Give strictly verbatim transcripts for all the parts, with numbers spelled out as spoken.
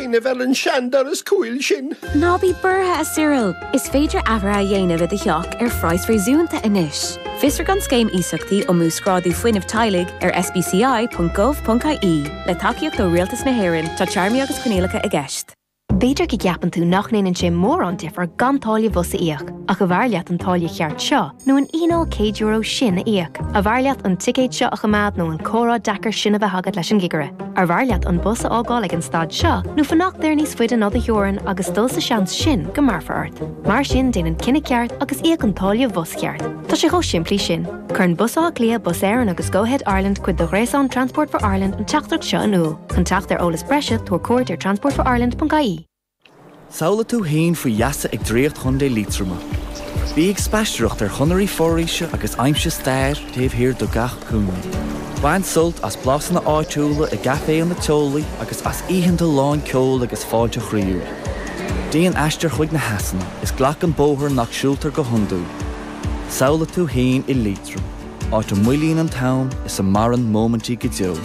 cuimhneamh ar an seandoras cúil sin. Ná bí buartha a Cyril, Is féidir athruithe a dhéanamh i do theach ar phraghas réasúnta anois. Fiosraigh an scéim iasachtaí um uasghrádú fuinnimh teaghlaigh ar sbci.gov.ie le tacaíocht ó Rialtas na hÉireann tá téarmaí agus coinníollacha i gceist. B'fhéidir go gceapann tú nach ndéanann sé mórán difear gan táille bhus a íoc, ach arbh fhearr leat an táille cheart seo nó an fhíneáil céad euro sin a íoc. Arbh fhearr leat an ticéad seo a choimeád nó an comhrá deacair sin a bheith agat leis an gcigire. Arbh fhearr leat an bus a fhágáil ag an stad seo nó fanacht air níos faide ná do theorainn agus dul sa seans sin go mbearrfar ort. Mar sin déan an cinneadh ceart agus íoc an táille bhus cheart. Tá sé chomh simplí sin. Cuireann Bus Átha Cliath Bus Éireann agus Go Ahead Ireland cuid de ghréasán Transport for Ireland an teachtaireacht seo in iúl. Chun teacht ar eolas breise tabhair cuairt ar transportforireland.ie. Samhlaigh tú féin faoi gheasa ag Draíocht Chontae Liatroma. Bí ag spaisteoireacht ar chonairí foraoise agus aimsigh stair taobh thiar de gach cúinne. Bain sult as blasanna áitiúla i gcaiféanna teolaí agus as oícheanta lán ceoil agus fáilte chroíúil. Déan aistear chuig na heasanna is glac an bóthar nach siúltar go hiondúil. Samhlaigh tú féin i Liatroim, áit a moillíonn an t-am is a maireann móimintí go deo.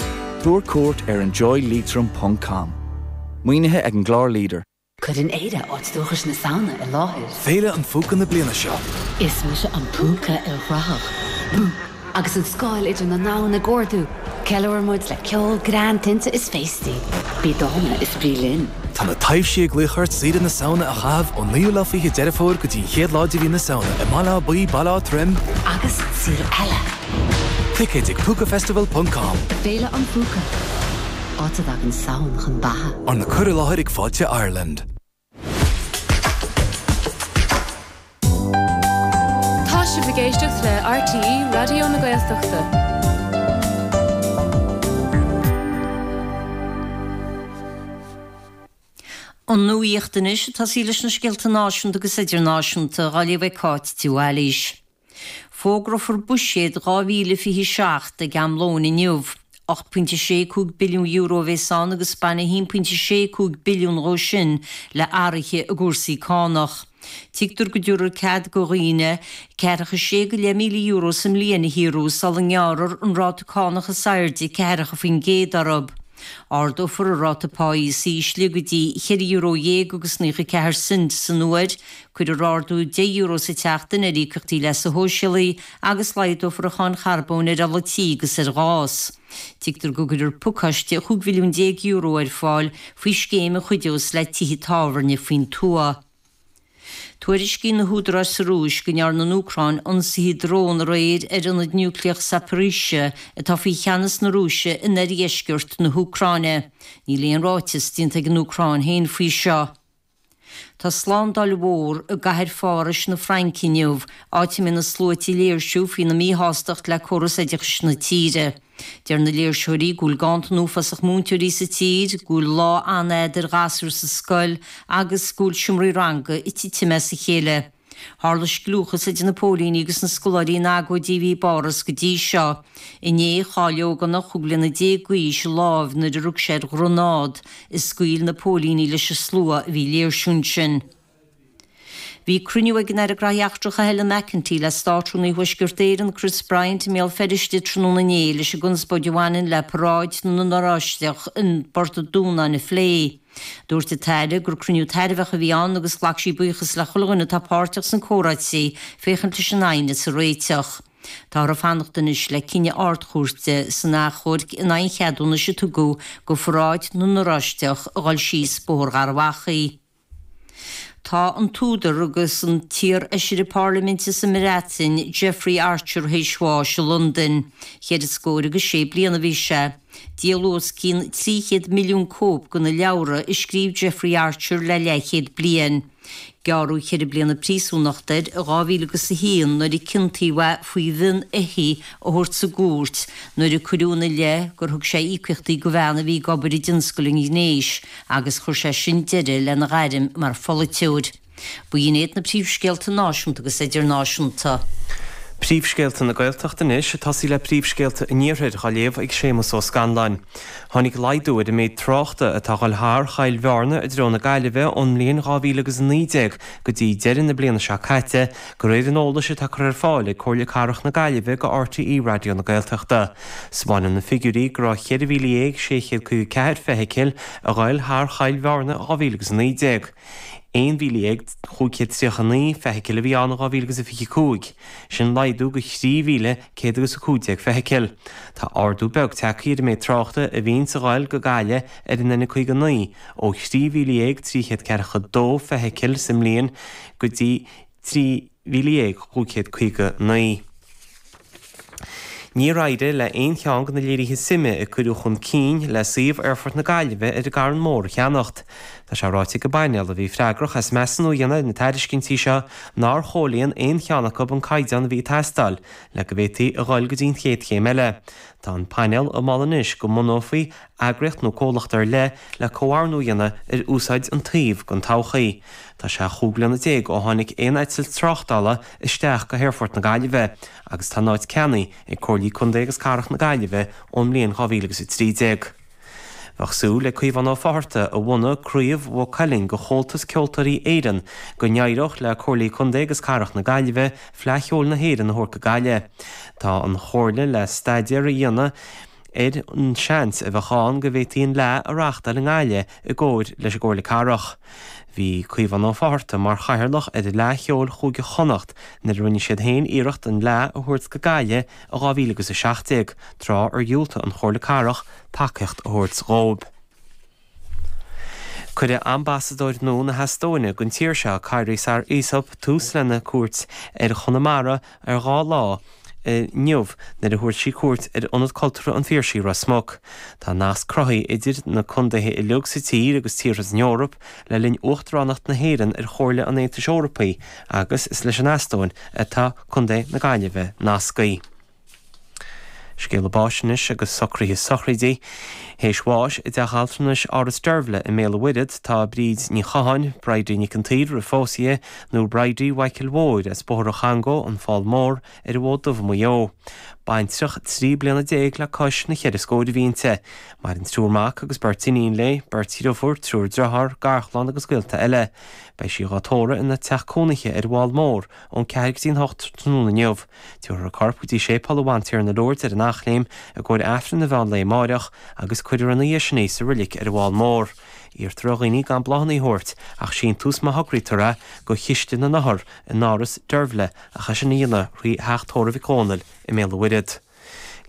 Tabhair cuairt ar enjoyleitrim.com. Maoinithe ag an gclár Leader. Cuireann Éire áit dúchais na Samhna i láthair. Féile an Phúca na bliana seo. Is mise an púca ilchruthach. Bú! Agus an scáil idir na ndomhan ag ardú, Ceiliúrann muid le ceol greann tinte is féastaí. Bí dána is bí linn. Tá na taibhsí ag glaoch ort saoire na Samhna a chaitheamh ón naoú lá fiche Deireadh Fómhair go dtí an chéad lá de mhí na Samhna i mBaile Átha Buí Baile Átha Troim agus saol eile. Ticéid ag púcafestival.com. Féile an Phúca. Áit a dtagann Samhain chun beatha. Arna cur i láthair ag Fáilte Ireland. Tá sibh ag éisteacht le RTÉ Raidió na Gaeltachta. An nuacht anois atá sí leis na scéalta náisiúnta agus idirnáisiúnta á léamh ag Cáit de Bhailís. Fógrófar buiséad dhá mhíle fiche seacht ag am lóin inniu. ocht pointe sé cúig billiún euro a bheas ann agus baineadh a haon pointe sé cúig billiún dhó sin le athruithe i gcúrsaí cánach. Tuigtear go dtabharfar cead do dhaoine ceathracha sé go leith míle euro sa mbliain a shaothrú sula ngearrfar an ráta cánach is airde ceathracha faoin gcéad orthu. Ardófar an ráta pá is ísle go dtí cheithre euro dhéag agus naocha ceathair cent san uair, cuirfear ardú deich euro sa tseachtain ar íocaíochtaí leasa shóisialaigh agus laghdófar an cháin charbóin ar ola tí agus ar ghás. Tuigtear go gcuirfear pacáiste chúig mhilliún déag euro ar fáil faoi scéim a chuideos le tithe tábhairne faoin tuath. Tuairiscíonn na húdaráis sa Rúis go ndearna an Úcráin ionsaithe drón aréir ar ionad núicléach Zaporizhzhia atá faoi cheannas na Rúise in oirdheisceart na hÚcráine. Níl aon ráiteas déanta ag an Úcráin féin faoi seo. Tá slándáil mhór i gcathair Phárais na Fraince inniu, áit a mbeidh na sluaite ag léirsiú faoina míshástacht le córas oideachais na tíre. Deir na léirsitheoirí go bhfuil ganntan uafásach múinteoirí sa tír, go bhfuil lá an-fhada ar ghasúir sa scoil agus go bhfuil seomraí ranga ag titim as a chéile. Tharla scliúchas idir na póilíní agus na scoláirí in agóidí a bhí i bPáras go dtí seo. Inné, chaill ógánach chúig bliana déag d'aois a lámh nuair a rug sé ar ghranád a scaoil na póilíní leis an slua a bhí ag léirsiú ansin. Bhí cruinniú ag an Aire Gnóthaí Eachtracha Helen McEntee le Státrúnaí Thuaisceart Éireann Chris Bryant i mBéal Feirste tráthnóna inné leis an gconspóid a bhaineann le paráid na nOráisteach i bPort an Dúnáin a phlé. Dúirt an tAire gur cruinniú tairbheach a bhí ann agus ghlac sí buíochas le chuile dhuine atá páirteach sna comhráití féachaint leis an aighneas a réiteach. Táthar ag fanacht anois le cinneadh Ard-Chúirte san achomharc in aghaidh an cheadúnais a tugadh do pharáid na nOráisteach a dhul síos Bóthar Gharbh Achaidh. Tá an t-údar agus an t-iar-fheisire parlaiminte sa mBreatain, Jeffrey Archer, théis bháis i Londain. Ceithre scór agus sé bliana a bhí sé. Díoladh os cionn trí chéad milliún cóip de na leabhra a scríobh Jeffrey Archer le leathchéad bliain. Gearradh ceithre bliana príosúnachta air i dhá mhíle agus a haon nuair a ciontaíodh é faoi mhionn éithigh a thabhairt sa gcúirt nuair a cuireadh ina leith gur thug sé íocaíochtaí do bhean a bhí ag obair i dtionscal an ghnéis agus chuir sé sin deireadh lena ghairm mar pholaiteoir. B'in iad na príomhscéalta náisiúnta agus idirnáisiúnta. Príomhscéalta na Gaeltachta anois ag tosaí le príomhscéalta an Iarthair á léamh ag Séamus Ó Scanláin. Tháinig laghdú ar an méid tráchta atá ag dul thar Chill Bhearna i dtreo na Gaillimhe ón mbliain dhá mhíle agus a naoi déag go dtí deireadh na bliana seo caite, de réir an eolais atá curtha ar fáil ag Comhairle Cathrach na Gaillimhe go RTÉ Raidió na Gaeltachta. 'Spáineann na figiúirí go raibh ceithre mhíle dhéag sé chéad caoga ceathair feithicil ag dul thar Chill Bhearna dhá mhíle agus a naoi déag. Aon mhíle dhéag chúig chéad tríocha a naoi feithicil a bhí ann in dhá mhíle agus a fiche cúig, sin laghdú de thrí mhíle céad agus a cúig déag feithicil. Tá ardú beag tagtha ar an méid tráchta a bhíonns ag dul go Gaillimh ar an N caoga naoi, ó thrí mhíle dhéag trí chéad ceathracha dó feithicil sa mbliain go dtí trí mhíle dhéag chúig chéad caoga naoi. Níor éirigh le haon cheann de na léirithe suime a cuireadh chun cinn le suíomh Aerfort na Gaillimhe ar an gCarn Mór a cheannacht. Tá sé ráite ag an bpainéal a bhí freagrach as measúnú a dhéanamh ar na tairiscintí seo nár chomhlíon aon cheann acu an caighdeán a bhí ag teastáil le go bhféadfaí a dhul go dtí an chéad chéim eile. Tá an painéal ag moladh anois go mbunófaí eagraíocht nó comhlacht ar leith le comhordú a dhéanamh ar úsáid an tsuímh don todhchaí. Tá sé chúig bliana déag ó tháinig aon eitilt tráchtála isteach go hAerfort na Gaillimhe agus tá an áit ceannaithe ag Comhairlí Contae agus Cathrach na Gaillimhe ón mbliain dhá mhíle agus a trí déag. Bheadh súil ag Caomhán Ó Fátharta a bhunaigh Craobh Mhaigh Cuilinn de Chomhaltas Ceoltóirí Éireann go n-éireodh le Comhairlí Contae agus Cathrach na Gaillimhe Fleadh Cheoil na hÉireann a thabhairt go Gaillimh. Tá an Chomhairle le staidéar a dhéanamh ar an seans a bheadh ann go bhféadfaí an Fhleadh a reáchtáil i nGaillimh i gcomhar leis an gComhairle Cathrach. Bhí Caomhán Ó Fátharta mar chathaoirleach ar Fhleadh Cheoil Chúige Chonnacht nuair a rinne siad féin iarracht an Fhleadh a thabhairt go Gaillimh i dhá mhíle agus a seacht déag, tráth ar dhiúltaigh an Chomhairle Cathrach tacaíocht a thabhairt dhóibh. Cuirfidh ambasadóir nua na hEastóine don tír seo, Kairi Saar-Isop, tús lena cuairt ar Chonamara ar dhá lá inniu nuair a thabharfaidh sí cuairt ar Ionad Cultúrtha an Phiarsaigh, Ros Muc. Tá nasc cruthaithe idir na contaetha uilig sa tír agus tíortha san Eoraip le linn uachtaránacht na hÉireann ar Chomhairle an Aontais Eorpaigh agus is leis an Eastóin atá Contae na Gaillimhe nasctha. Scéala báis anois agus socruithe sochraide. Théis bháis i dteach altranais Áras Deirbhile i mBéal an Mhuirthead tá Bríd Ní Chatháin, Bridie Nic an tSaoir roimh phósadh di, nó Bridie Mhichael Mhóir as Bóthar an Chongó, An Fál Mór, ar an bhFód Dubh i Maigh Eo. Baintreach trí bliana déag le cois na cheithre scór a bhí inti. Maireann triúr mac agus beirt iníon léi, beirt dhriofúr, triúr driotháir, garchlann agus gaolta eile. Beidh sí dhá tórramh ina teach cónaithe ar an bhFál Mór ón ceathair go dtí an hocht tráthnóna inniu. Tabharfar a corp go dtí Séipéal an Bhantiarna Lourdes ar an Eachléim i gcomhair Aifreann an mheán lae amáireach agus cuirfear ina dhiaidh sin í sa reilig ar an bhFál Mór. Iarrtar ar dhaoine gan bláthanna a thabhairt ach síntiús má thograítear é go Chiste na nOthar in Áras Deirbhile ach é sin a dhéanamh thrí Theach Tórraimh Mhic Dhónaill i mBéal an Mhuirthead.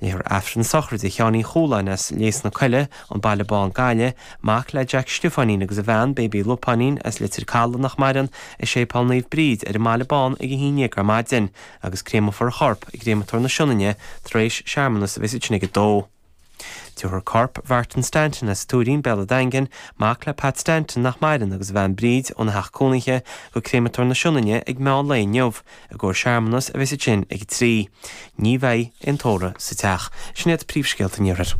Léifear Aifreann sochraide Sheáin Uí Chualáin as Lios na Coille, an Baile Bán Gaillimh, mac le Jack Stiofáinín agus a bhean, Baby Lupáinín, as Leitir Caladh nach maireann, i Séipéal Naomh Bríd ar an mBaile Bán ag a haon déag ar maidin, agus créamófar a chorp i gcréamatóir na Sionainne tar éis searmanas a bheas ansin ag a dó. Tabharfar corp Mhartin Stanton as Tuairín, Béal an Daingin, mac le Pat Stanton nach maireann agus a bhean Bríd óna theach cónaithe go créamatóir na Sionainne ag meán lae inniu, i gcomhair searmanas a bheas ansin ag a trí. Ní bheidh aon tórramh sa teach. Sin iad príomhscéalta an Iarthair.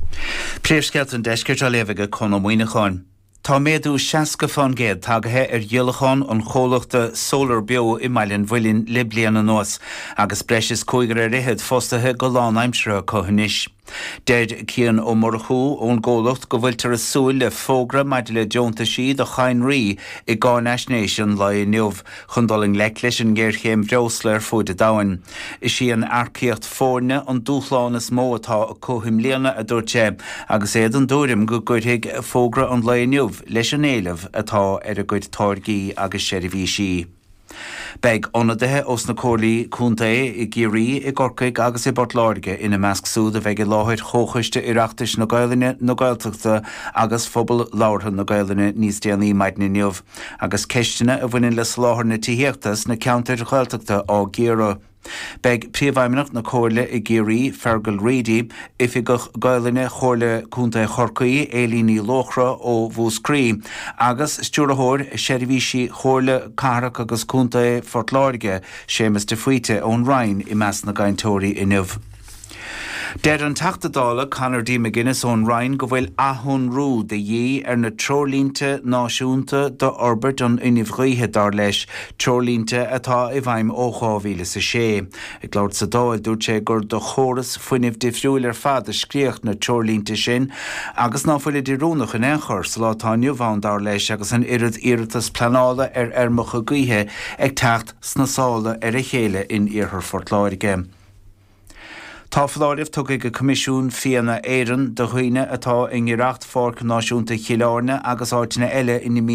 Príomhscéalta an Deiscirt á léamh ag Conn Ó Muíneacháin. Tá méadú seasca fán gcéad tagaithe ar dhíolachán an chomhlachta Solar Beo i mBaile an Mhuilinn le bliain anuas, agus breis is cúigear ar fhichead fostaithe go lánaimseartha acu anois. Deir Cian Ó Murchú ón gcomhlacht go bhfuiltear ag súil le fógra maidir le deontaisí do chadhnraí i gcáinaisnéis an lae inniu chun dul i ngleic leis an ngéarchéim bhreosla ar fuaid an domhain. Is í an earcaíocht foirne an dúshlán is mó atá acu i mbliana, a dúirt sé, agus é den tuairim go gcuirfidh fógra an lae inniu leis an éileamh atá ar a gcuid táirgí agus seirbhísí. Beidh ionadaithe ós na comhairlí contae i gCiarraí, i gCorcaigh agus i bPort Láirge ina measc siúd a bheidh i láthair Chomhchoiste Oireachtais na Gaelainne, na Gaeltachta agus Phobal Labhartha na Gaelainne níos déanaí maidin inniu, agus ceisteanna a bhaineann le soláthar na tithíochta sna ceantair Ghaeltachta á gcíoradh. Beidh Príomhfheidhmeannach na Comhairle i gCiarraí, Fergal Reidy, Oifigeach Gaelainne Chomhairle Contae Chorcaí, Éilín Ní Luachra ó Mhúscraí, agus Stiúrthóir Seirbhísí Chomhairle Cathrach agus Contae Phort Láirge, Séamus de Faoite ón Rinn i measc na gcainteoirí inniu. Deir an Teachta Dála Conor D. McGuinness ón Rinn go bhfuil athshonrú de dhíth ar na treoirlínte náisiúnta d'fhorbairt an fhuinnimh ghaoithe dar leis, treoirlínte atá i bhfeidhm ó dhá mhíle is a sé. Ag labhairt sa Dáil dúirt sé gur do chóras fuinnimh difriúil ar fad a scríodh na treoirlínte sin agus ná fuilid oiriúnach in aon chor sa lá atá inniu ann dar leis agus an oiread iarratas pleanála ar fheirmeacha gaoithe ag teacht sna sála ar a chéile in iarthar Phort Láirge. Tá foláireamh tugtha ag Coimisiún Fianna Éireann do dhaoine atá i ngiorracht Pháirc Náisiúnta Chill Airne agus áiteanna eile ina mbíonn